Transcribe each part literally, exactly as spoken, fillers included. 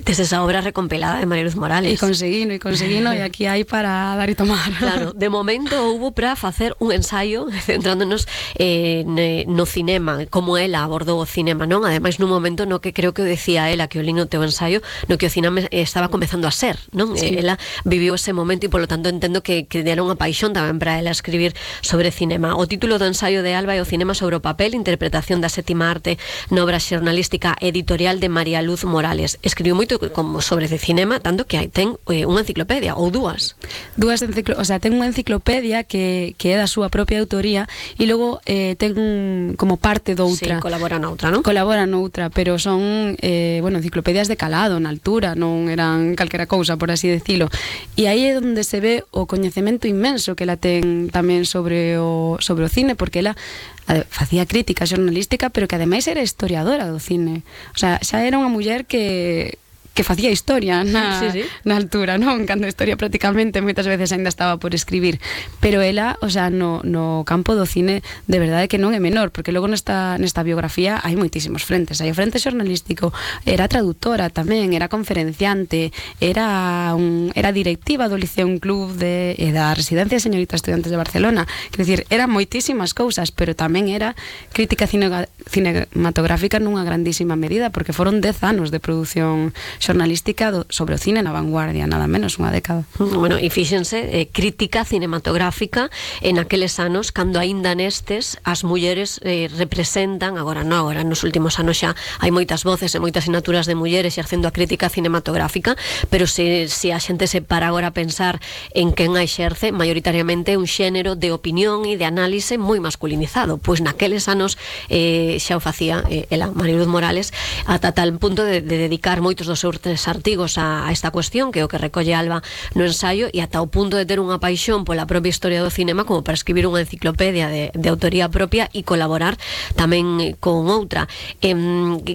tes esa obra recompilada de María Luz Morales. E conseguino, e conseguino, e aquí hai para dar e tomar. Claro, de momento houve para facer un ensaio centrándonos eh, no cinema, como ela abordou o cinema, non? Ademais, nun momento no que creo que decía ela, que o lin no teu ensayo, no que o cinema estaba comezando a ser, non? Sí. Ela viviu ese momento e, polo tanto, entendo que, que era unha paixón tamén para ela escribir sobre cinema. O título do ensaio de Alba é O cinema sobre o papel, interpretación da sétima arte na obra xornalística editorial de María Luz Morales. Escribiu moito como sobre de cinema, tanto que hai ten eh, unha enciclopedia, ou dúas. Dúas enciclo, o sea, ten unha enciclopedia que, que é da súa propia autoría e logo eh, ten un, como parte doutra. Sí, colabora noutra, non? Colabora noutra, pero son eh, bueno, enciclopedias de calado, na altura, non eran calquera cousa, por así decilo. E aí é onde se ve o coñecemento inmenso que ela ten tamén sobre o, sobre o cine, porque ela facía crítica xornalística, pero que ademais era historiadora do cine. O sea, xa era unha muller que que facía historia na, sí, sí. na altura, non? Cando a historia prácticamente moitas veces ainda estaba por escribir, pero ela, o sea, no, no campo do cine de verdade que non é menor, porque logo nesta, nesta biografía hai moitísimos frentes. Hai o frente xornalístico, era traductora tamén, era conferenciante, era un, era directiva do Liceo Un Club de, e da Residencia de Señoritas Estudiantes de Barcelona. Quer dicir, eran moitísimas cousas, pero tamén era crítica cine, cinematográfica nunha grandísima medida, porque foron dez anos de produción xornalística do, sobre o cine na vanguardia, nada menos unha década. Bueno, e fíxense, eh, crítica cinematográfica en aqueles anos, cando aínda nestes as mulleres eh, representan, agora non, agora nos últimos anos xa hai moitas voces e moitas sinaturas de mulleres exercendo a crítica cinematográfica, pero se, se a xente se para agora a pensar en quen a exerce, maioritariamente un xénero de opinión e de análise moi masculinizado, pois naqueles anos eh, xa o facía eh, ela, María Luz Morales, ata tal punto de, de dedicar moitos dos seus tres artigos a, a esta cuestión, que é o que recolle Alba no ensaio, e ata o punto de ter unha paixón pola propia historia do cinema como para escribir unha enciclopedia de, de autoría propia e colaborar tamén con outra. Eh,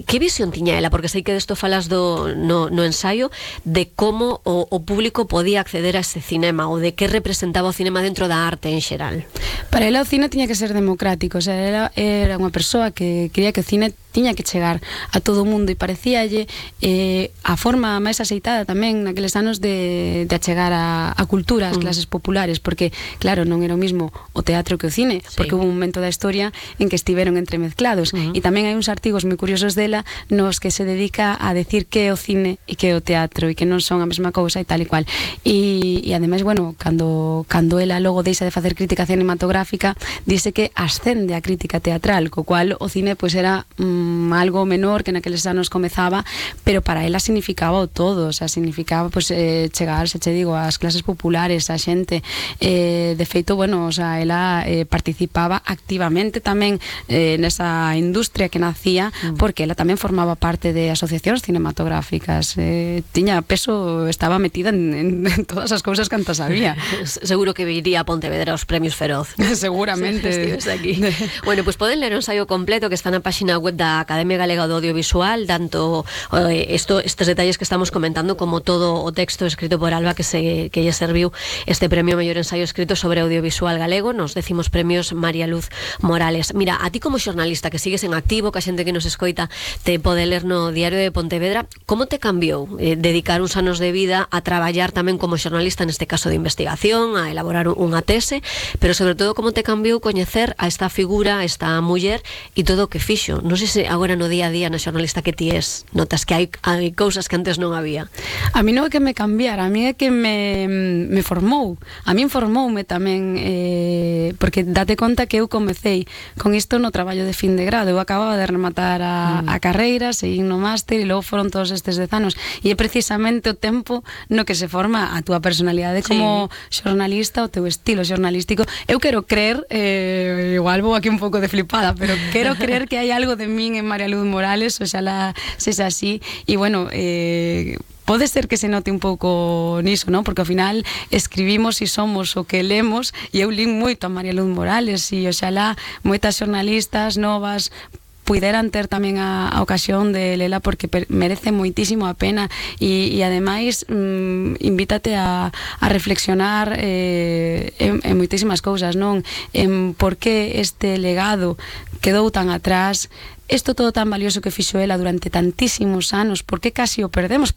que visión tiña ela? Porque sei que desto falas do, no, no ensaio de como o, o público podía acceder a ese cinema, ou de que representaba o cinema dentro da arte en xeral. Para ela o cine tiña que ser democrático, o sea, ela era unha persoa que quería que o cine tiña que chegar a todo o mundo, e parecíalle eh, a forma máis aceitada tamén naqueles anos de, de achegar a, a cultura ás clases populares, porque claro, non era o mismo o teatro que o cine, sí. Porque hubo un momento da historia en que estiveron entremezclados, uh-huh. E tamén hai uns artigos moi curiosos dela nos que se dedica a decir que é o cine e que é o teatro, e que non son a mesma cousa e tal e cual, e, e ademais, bueno, cando, cando ela logo deixa de facer crítica cinematográfica, dice que ascende a crítica teatral, co cual o cine pois era mm, algo menor que naqueles anos comezaba, pero para ela significaba o todo, o sea, significaba pues, eh, chegar, se che digo, ás clases populares, a xente, eh, de feito, bueno, o sea, ela eh, participaba activamente tamén eh, nesa industria que nacía, mm. porque ela tamén formaba parte de asociacións cinematográficas, eh, tiña peso, estaba metida en, en, en todas as cousas que antes había. Seguro que iría a Pontevedra aos premios Feroz. Seguramente. Estives aquí. Bueno, pues poden ler o ensaio completo que está na páxina web da Academia Galega do Audiovisual, tanto eh, esto, estes detalles que estamos comentando como todo o texto escrito por Alba que se que lle serviu este premio mellor ensaio escrito sobre audiovisual galego nos décimos premios María Luz Morales. Mira, a ti como xornalista que sigues en activo, que a xente que nos escoita te pode ler no Diario de Pontevedra, como te cambiou eh, dedicar uns anos de vida a traballar tamén como xornalista, neste caso de investigación, a elaborar unha tese, pero sobre todo como te cambiou coñecer a esta figura, a esta muller e todo o que fixo? Non sei se agora no día a día na xornalista que ti es, notas que hai, hai cousas que antes non había. A mí non é que me cambiara, a mí é que me, me formou. A mí formoume tamén, eh, porque date conta que eu comecei con isto no traballo de fin de grado. Eu acababa de rematar a, mm. a carreira, seguín no máster e logo foron todos estes dez anos. E é precisamente o tempo no que se forma a túa personalidade como sí. xornalista, o teu estilo xornalístico. Eu quero creer, eh, igual vou aquí un pouco de flipada, pero quero creer que hai algo de min en María Luz Morales, oxalá sexa así. E bueno, eh, pode ser que se note un pouco niso, non? Porque ao final escribimos e somos o que lemos, e eu lín moito a María Luz Morales e oxalá moitas xornalistas novas puideran ter tamén a, a ocasión de lela, porque per, merece moitísimo a pena e, e ademais mm, invítate a, a reflexionar eh, en, en moitísimas cousas, non? En por que este legado quedou tan atrás, isto todo tan valioso que fixo ela durante tantísimos anos, por que casi o perdemos? Por